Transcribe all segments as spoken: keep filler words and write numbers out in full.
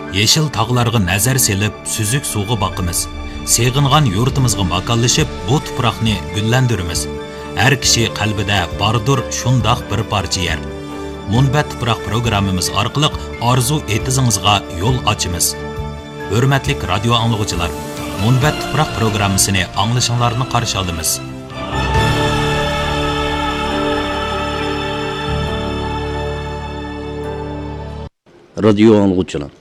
يېشىل تاغلارغا نەزەر سېلىپ، سۈزۈك سۇغا باقىمىز. سېغىنغان يۇرتىمىزغا ماكانلىشىپ، بۇ تۇپراقنى گۈللەندۈرىمىز. ھەر كىشى قەلبىدە باردۇر شۇنداق بىر پارچە يەر. مۇنبەت تۇپراق پروگراممىمىز ئارقىلىق ئارزۇ ئېتىزىڭىزغا يول ئاچىمىز. ھۆرمەتلىك رادىيو ئاڭلىغۇچىلار، مۇنبەت تۇپراق پروگراممىسىنى ئاڭلىشىڭلارنى قارشى ئالىمىز. رادىيو ئاڭلىغۇچىلار،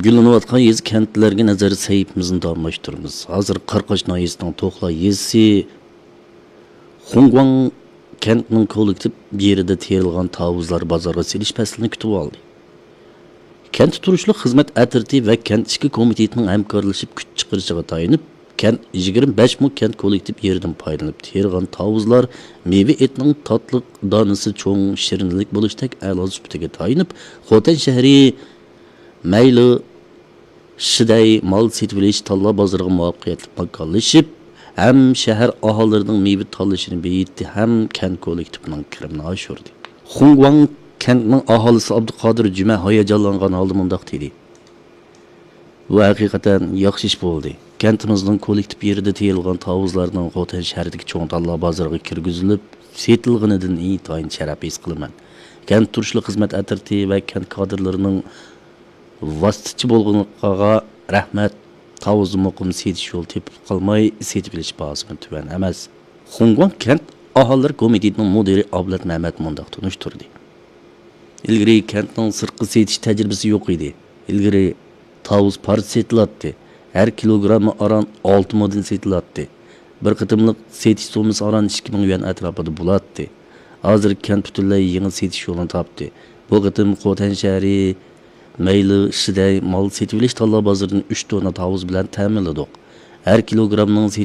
گۈللىنىۋاتقان يېزا كەنتلەرگە نەزەر سەھىپىمىزنى داۋاملاشتۇرىمىز. ھازىر قاراقاش ناھىيەسىنىڭ توخلا يېزىسى خۇڭگۇاڭ كەنتىنىڭ كوللېكتىپ يېرىدە تېرىلغان تاۋۇزلار بازارغا سېلىش پەسلىنى كۈتۈۋالدى. كەنتتە تۇرۇشلۇق خىزمەت ئەترىتى ۋە كەنت ئىچكى كومىتېتىنىڭ ھەمكارلىشىپ كۈچ چىقىرىشىغا تايىنىپ، كەنت يىگىرمە بەش مو كەنت كوللېكتىپ يېرىدىن پايدىلىنىپ تېرىغان تاۋۇزلار مېۋە ئېتىنىڭ تاتلىق، دانىسى چوڭ، شىرىنلىك بولۇشتەك ئەلا سۈپىتىگە تايىنىپ، خوتەن شەھىرى مەيلى شىدەي مال سېتىۋېلىش تاللا بازىرىغا مۇۋەپپەقىيەتلىك ماكانلىشىپ، ھەم شەھەر ئاھالىلىرىنىڭ مېۋە تاللىشىنى بېيىتتى، ھەم كەنت كوللېكتىپىنىڭ كىرىمىنى ئاشۇردى. خۇڭگۇاڭ كەنتىنىڭ ئاھالىسى ئابدۇقادىر جۈمە ھاياجانلانغان ھالدا مۇنداق دېدى: بۇ ھەقىقەتەن ياخشى ئىش بولدى. كەنتىمىزنىڭ كوللېكتىپ يېرىدە تېرىلغان تاۋۇزلارنىڭ خوتەن شەھىرىدىكى چوڭ تاللا بازىرىغا كىرگۈزۈلۈپ سېتىلغىنىدىن ئىنتايىن شەرەپ ھېس قىلىمەن. كەنتتە تۇرۇشلۇق خىزمەت ئەترىتى ۋە كەنت كادىرلىرىنىڭ ۋاسىتىچى بولغانلىقىغا رەھمەت. تاۋۇزدا مۇقىم سېتىش يولى تېپىلىپ قالماي، سېتىۋېلىش باھاسىمۇ تۆۋەن ئەمەس. خۇڭگۇاڭ كەنت ئاھالىلەر كومىتېتىنىڭ مۇدىرى ئابلەت مەمەت مۇنداق تونۇشتۇردى: ئىلگىرى كەنتنىڭ سىرتقا سېتىش تەجرىبىسى يوق ئىدى. ئىلگىرى تاۋۇز پارچە سېتىلاتتى. ھەر كىلوگراممى ئاران ئالتە مودىن سېتىلاتتى. بىر قېتىملىق سېتىش سوممىسى ئاران ئىككى مىڭ يۈەن ئەتراپىدا بولاتتى. ھازىر كەنت پۈتۈنلەي يېڭى سېتىش يولىنى تاپتى. بۇ قېتىم خوتەن شەھىرى مەيلى شىدەي مال سېتىۋېلىش تاللا بازىرىدىن ئۈچ توننا تاۋۇز بىلەن تەمىنلىدۇق. ھەر كىلوگرامنىڭ